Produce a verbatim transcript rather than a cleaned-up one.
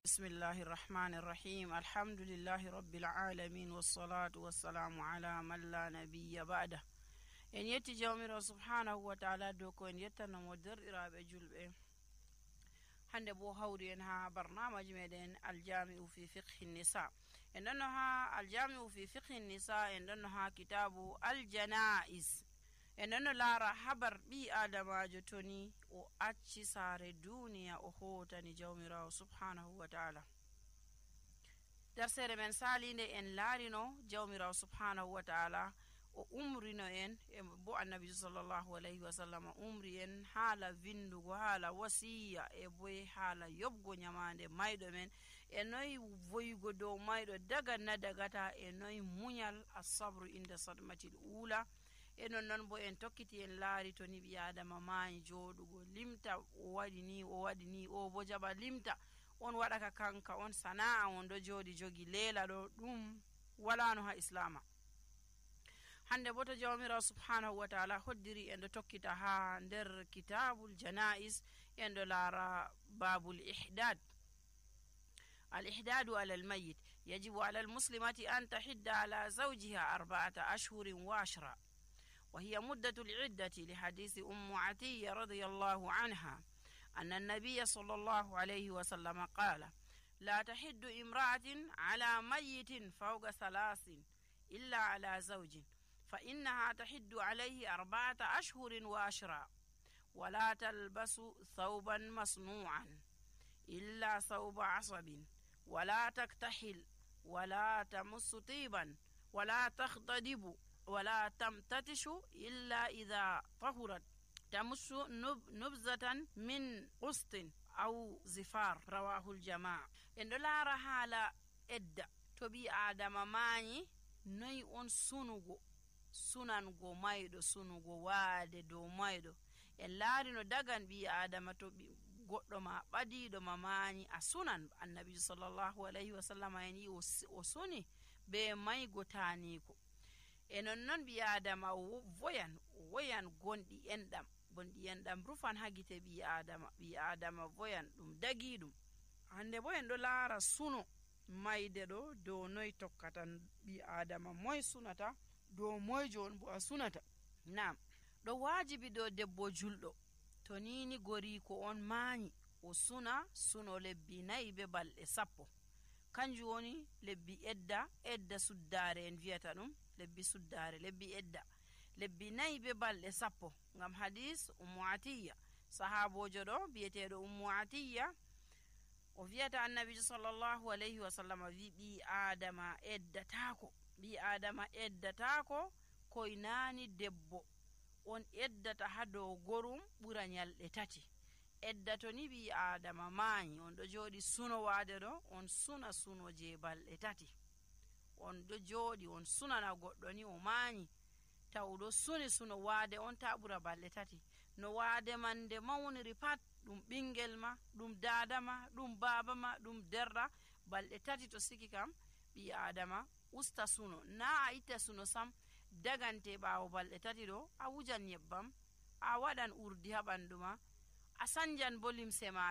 Bismillahir Rahmanir Rahim. Alhamdulillahi Rabbil Alamin wassalatu wassalamu ala man la nabiyya ba'da. En yetti jawmiro subhanahu wa ta'ala do ko en yettana mo derdiraabe julbe. Hande bo hawri en ha barnamaji meden Al-Jami'u fi Fiqh an-Nisa. En donno ha Al-Jami'u fi Fiqh an-Nisa en donno ha kitabu Al-Janaiz. En donno lara habar bi adamajo toni o acci sare duniya o hotani jawmirawo subhanahu wa ta'ala. Darsere men salinde en larino jawmirawo subhanahu wa ta'ala o umrino en e bo annabi sallallahu alaihi wasallam umri en hala vindugo hala wasiya e boy hala yobgo nyamande maydo men e noy voyugo do maydo daga na dagata e noy munyal as-sabru inda sadmatil ula e non non bo en tokkiti en laari to ni bi adama maani jodugo limta o wadi ni o wadi ni o bo jaba limta on wada ka kanka on sanaa on do jodi jogi lela do dum wala no ha islama. Hande boto jawmira subhanahu wa ta'ala hoddiri en do tokkita ha der kitabul janaiz en do lara babul ihdad. الإحداد على الميت يجب على المسلمة أن تحد على زوجها أربعة أشهر وعشرة، وهي مدة العدة لحديث أم عتية رضي الله عنها أن النبي صلى الله عليه وسلم قال: لا تحد امرأة على ميت فوق ثلاث إلا على زوج، فإنها تحد عليه أربعة أشهر وعشرة، ولا تلبس ثوبا مصنوعا إلا ثوب عصب، ولا تكتحل، ولا تمس طيبا، ولا تختضب، ولا تمتتش إلا إذا طهرت، تمس نب نبذة من قسط أو زفار. رواه الجماعة. إن لا رحالة إدى تبي آدم ماني ني أن سنوغو sunango maydo sunugo waade do maydo en laarino dagan bi adama to goddo ma badido mamani a sunan annabi sallallahu alaihi wasallam en o suni be may gotani ko enon non bi adama voyan voyan gondi endam gondi endam rufan hagite bi adama bi adama voyan dum dagi dum. Hande bo en do laara suno mayde do do noy tokkatan bi adama moy sunata do moyjo on bo a sunata. Naam, do wajibi do debbo juldo to nini gori ko on maani o suna suno lebbi nayi be balde sappo, kanju woni lebbi edda edda suddare en viyata dum lebbi suddare lebbi edda lebbi nayi be balde sappo ngam hadis ummu atiya sahabojo do biyetedo ummu atiya o viyata annabi sallallahu alaihi wasallam wi bi adama eddatako bi adama eddatako koy nani debbo on eddata hado gorum bura nyalde tati. Eddato ni bi adama maani on do jodi suno wade do on suna suno je balde tati, on do jodi on suna na goddo ni o maani tawdo suni suno wade on ta bura balde tati. No wade mande mawniri pat dum bingel ma dum dada ma dum baba ma dum derra balde tati to siki kam bi adama usta suno na a ita suno sam dagante bawo balde tati do a wujan nyebbam a wadan urdi ha banduma a sanjan bolim sema